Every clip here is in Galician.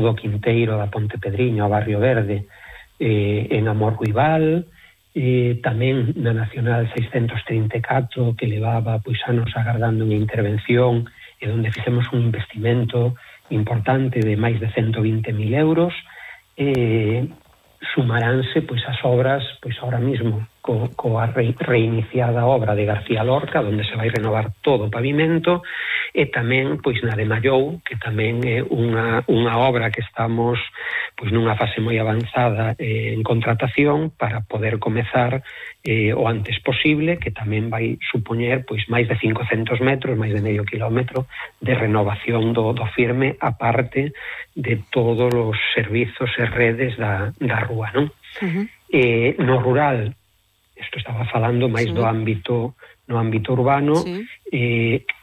do Quinteiro da Ponte Pedriño, ao Barrio Verde, en Amorruibal, tamén na Nacional 634, que levaba pois anos agardando unha intervención, e onde fixemos un investimento importante de máis de 120.000 euros. Sumaránse pois as obras pois ahora mismo coa reiniciada obra de García Lorca, onde se vai renovar todo o pavimento, e tamén pois na de Mallou, que tamén é unha obra que estamos pois nunha fase moi avanzada en contratación para poder comezar o antes posible, que tamén vai supoñer pois máis de 500 metros, máis de medio kilómetro de renovación do firme, aparte de todos os servizos e redes da rúa, non? No rural, isto estaba falando máis no ámbito urbano,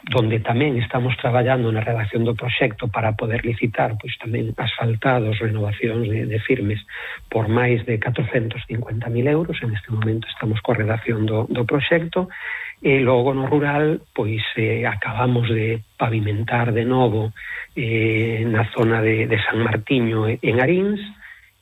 donde tamén estamos traballando na redacción do proxecto para poder licitar pois tamén asfaltados, renovacións de firmes por máis de 450.000 euros. En este momento estamos coa redacción do proxecto, e logo no rural pois acabamos de pavimentar de novo na zona de San Martiño en Arins.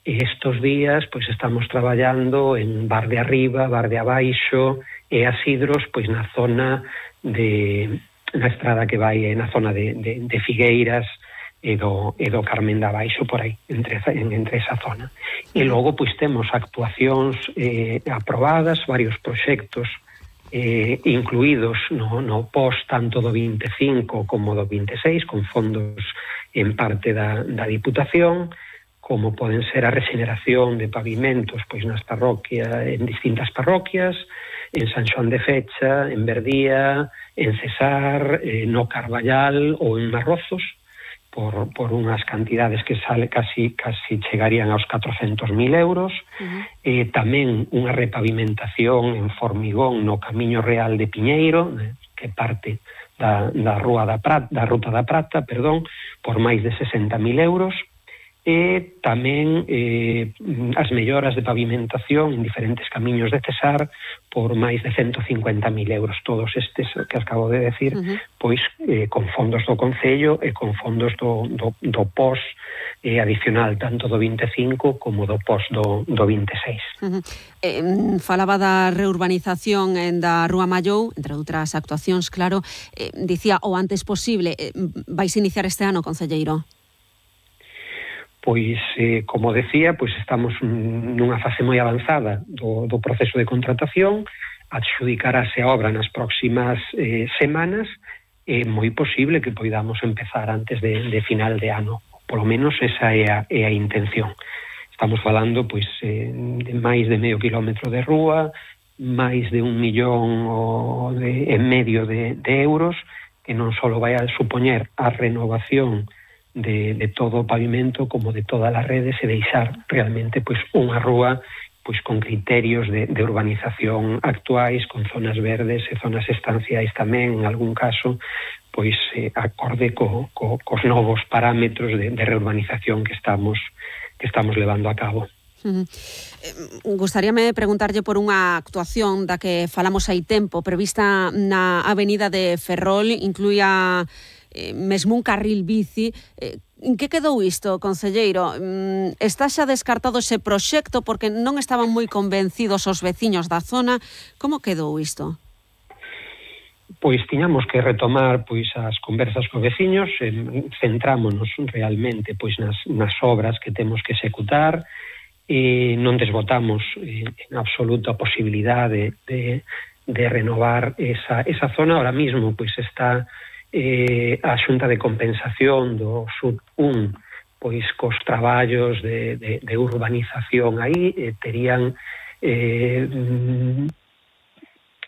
E estos días pois estamos traballando en Bar de Arriba, Bar de Abaixo e Asidros, pois na zona na estrada que vai na zona de Figueiras e do Carmen de Abaixo, por aí, entre esa zona. E logo pois temos actuacións aprobadas, varios proxectos incluídos no post tanto do 25 como do 26, con fondos en parte da Diputación, como poden ser a rexeneración de pavimentos pois nas parroquias, en distintas parroquias, en San Xoán de Fecha, en Verdía, en Cesar, no Carballal ou en Marrozos, por unhas cantidades que casi chegarían aos 400.000 euros. Tamén unha repavimentación en formigón no Camiño Real de Piñeiro, que parte da Ruta da Prata, por máis de 60.000 euros. E tamén as melloras de pavimentación en diferentes camiños de Cesar por máis de 150.000 euros. Todos estes que acabo de decir, pois con fondos do Concello e con fondos do POS adicional, tanto do 25 como do POS do 26. Falaba da reurbanización da Rúa Mallou, entre outras actuacións, claro. Dicía o antes posible. Vais iniciar este ano, concelleiro? Pois, como decía, pois estamos nunha fase moi avanzada do proceso de contratación. Adxudicarase a obra nas próximas semanas. É moi posible que poidamos empezar antes de final de ano. Polo menos esa é a intención. Estamos falando pois de máis de medio kilómetro de rúa, máis de 1,5 millón de euros, que non só vai a supoñer a renovación de todo o pavimento como de todas as redes, e deixar realmente pois unha rúa pois con criterios de urbanización actuais, con zonas verdes e zonas estanciais tamén, en algún caso pois acorde cos novos parámetros de reurbanización que estamos levando a cabo. Gustaríame preguntarlle por unha actuación da que falamos hai tempo, prevista na Avenida de Ferrol, incluía mesmo un carril bici. En que quedou isto, concelleiro? Está xa descartado ese proxecto porque non estaban moi convencidos os veciños da zona? Como quedou isto? Pois tiñamos que retomar pois as conversas cos veciños, centrámonos realmente pois nas obras que temos que executar, e non desbotamos en absoluto a posibilidade de renovar esa zona. Ahora mismo pois está a Xunta de Compensación do Sud 1 pois cos traballos de urbanización aí, terían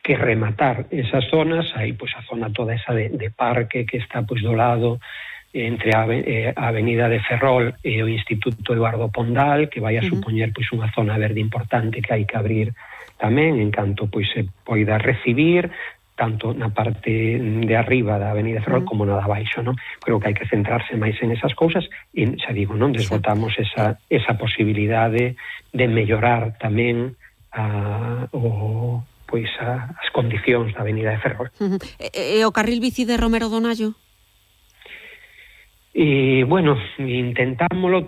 que rematar esas zonas. Aí pois a zona toda esa de parque que está pois do lado entre a Avenida de Ferrol e o Instituto Eduardo Pondal, que vai a supoñer pois unha zona verde importante que hai que abrir tamén, en canto pois se poida recibir, tanto na parte de arriba da Avenida Ferrol como na de abaixo, non? Creo que hai que centrarse máis en esas cousas, e xa digo, non desbotamos esa posibilidade de mellorar tamén as condicións da Avenida de Ferrol. E o carril bici de Romero Donallo? E, bueno, intentámoslo